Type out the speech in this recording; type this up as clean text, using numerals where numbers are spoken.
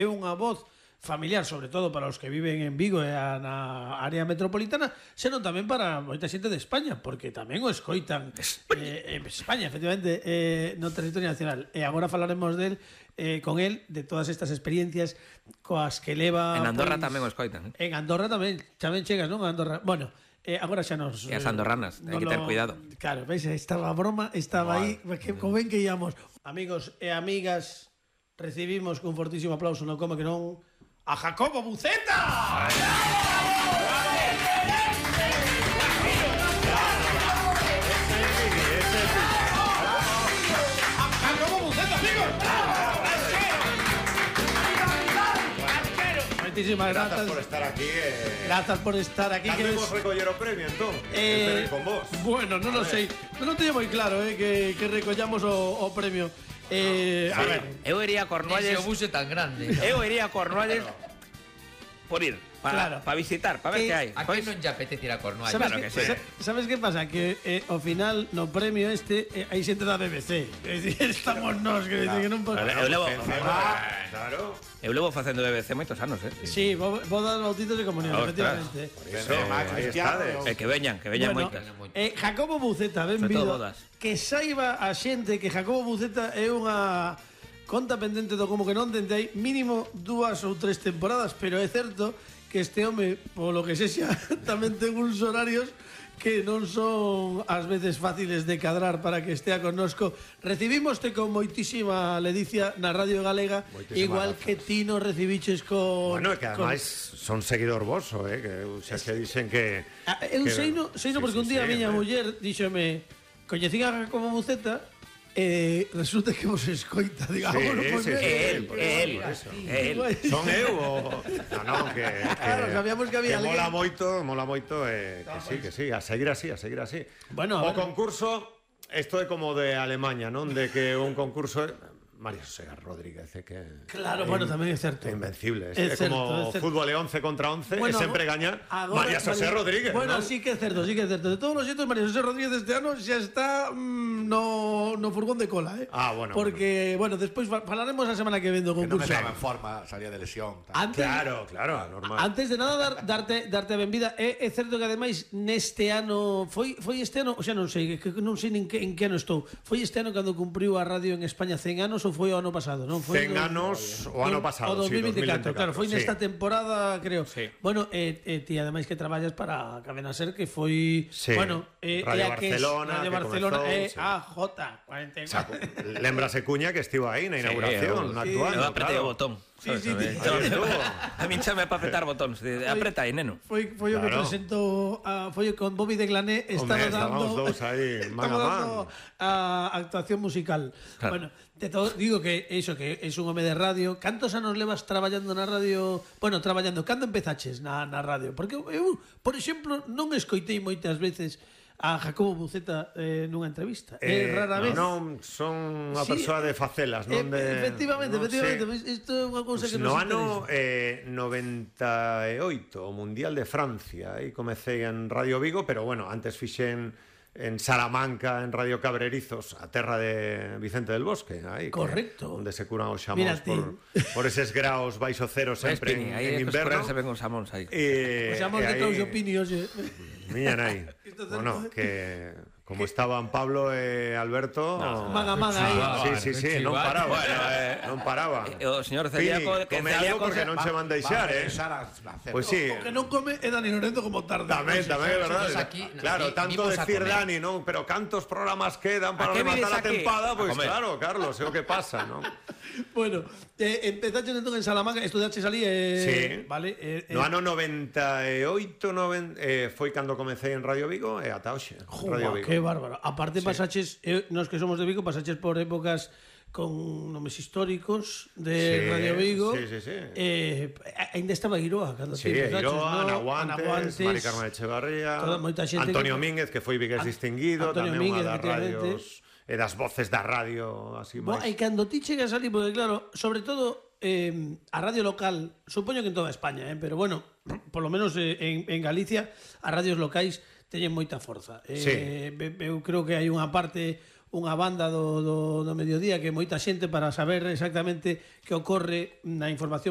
é unha voz familiar, sobre todo para os que viven en Vigo e na área metropolitana, senón tamén para moita xente de España, porque tamén o escoitan en España, efectivamente, no territorio nacional. E agora falaremos con él, de todas estas experiencias coas que leva... En Andorra tamén o escoitan. En Andorra tamén chegas, non? Andorra. Bueno, agora xa nos... E as andorranas, hai que ter cuidado. Claro, veis, estaba a broma, estaba aí, como ven que íamos. Amigos e amigas, recibimos con fortísimo aplauso, non como que non, a Jacobo Buceta. Jacobo Buceta, amigos. Moitísimas grazas por estar aquí. Grazas por estar aquí. Cando recoller o premio, entón? Con vos. Bueno, non o sei. Non teño moi claro que recollamos o premio. A ver, eu iría a Cornualles. Ese obuse tan grande. Eu iría a Cornualles por ir, para visitar, para ver que hai. A que non lle apetece ir a Cornualles? Claro que sí. Sabes que pasa? Que ao final no premio hai xente da BBC. É dicir, estamos nós que non pode. Claro. Eu levo facendo BBC moitos anos, Sí, bodas, bautizos e comunión, efectivamente. Que veñan moitas. Jacobo Buceta, benvido. Que saiba a xente que Jacobo Buceta é unha conta pendente do como que non dende hai mínimo 2 ou 3 temporadas, pero é certo que este home, polo que sexa, tamén ten uns horarios que non son ás veces fáciles de cadrar para que estea connosco. Recibímoste con moitísima ledicia na Radio Galega, igual que ti nos recibiches con... Bueno, que ademais son seguidor voso, que xa que dicen que... Eu seino porque un día a miña muller díxome, coñecín a Jacobo Buceta, resulta que vos escoita, digamos, él. Son eu ou... Non, que sabíamos que había alguén. Mola moito, que sí, a seguir así. Bueno, o concurso, isto é como de Alemanha, non? De que un concurso... María José Rodríguez, que... Claro, bueno, tamén é certo. Invencible. É como fútbol 11 contra 11, e sempre gaña María José Rodríguez. Bueno, sí que é certo. De todos os xeitos, María José Rodríguez este ano xa está no furgón de cola, bueno. Porque, bueno, despois falaremos a semana que ven do concurso. Que non me estaba en forma, salía de lesión. Claro, normal. Antes de nada, darte a benvida. É certo que, ademais, neste ano... Foi este ano, xa non sei, que non sei en que ano estou. Foi este ano cando cumpriu a radio en España 100 anos, foi o ano pasado, non? 100 anos o ano pasado, o 2024, claro, foi nesta temporada, creo. Sí. Bueno, ti ademais que traballas para Cadena Ser, que foi, bueno, Radio Barcelona, AJ44. Lembrase Cuña que estivo aí na inauguración, actuando. Eu apretei o botón. Sí. A min chame para apretar botóns. Apreta aí, neno. Foi o que presentou, foi con Bobby de Glané, estábamos dous aí, man a man. A actuación musical. Bueno, de todo, digo que iso, que é un home de radio. Cantos anos levas traballando na radio? Bueno, cando empezaches na radio? Porque eu, por exemplo, non escoitei moitas veces a Jacobo Buceta nunha entrevista. Rara vez. Non, son unha persoa de facelas, non de... Efectivamente. Isto é unha cousa que no nos interesa. No ano 98, o Mundial de Francia, aí comecei en Radio Vigo, pero bueno, antes fixen en Salamanca, en Radio Cabrerizos, a terra de Vicente del Bosque, aí, correcto, onde se curan os xamóns por eses graos baixo cero sempre en inverno. Se ven os xamóns aí. Os xamóns de Claudio Pini, oxe. Miñan aí. Bueno, que como estaban Pablo e Alberto, man a man aí. Sí, non paraba. Non paraba. O señor Celíaco, come algo porque non se van deixar, Pois sí. O que non come é Dani Lorenzo como tarde. Tamén, é verdade. Claro, tanto decir Dani, non, pero cantos programas quedan para rematar a tempada, pois claro, Carlos, é o que pasa, non? Bueno, empezaste entón en Salamanca, estudaches ali, sí. Vale? No ano 98, foi cando comecei en Radio Vigo e ata hoxe. Radio Vigo. Que bárbaro. Aparte pasaches, nos que somos de Vigo, pasaches por épocas con nomes históricos de Radio Vigo. Sí. Ainda estaba Iroa cando te empezaches, Iroa, Ana Guantes, Mari Carmen Echevarría, Antonio Mínguez, que foi vigués distinguido, tamén unha das radios e das voces da radio así máis. E cando ti chegas ali, porque claro, sobre todo a radio local, supoño que en toda España, pero bueno, por lo menos en Galicia, as radios locais teñen moita forza. Eu creo que hai unha parte, unha banda do mediodía que moita xente para saber exactamente que ocorre na información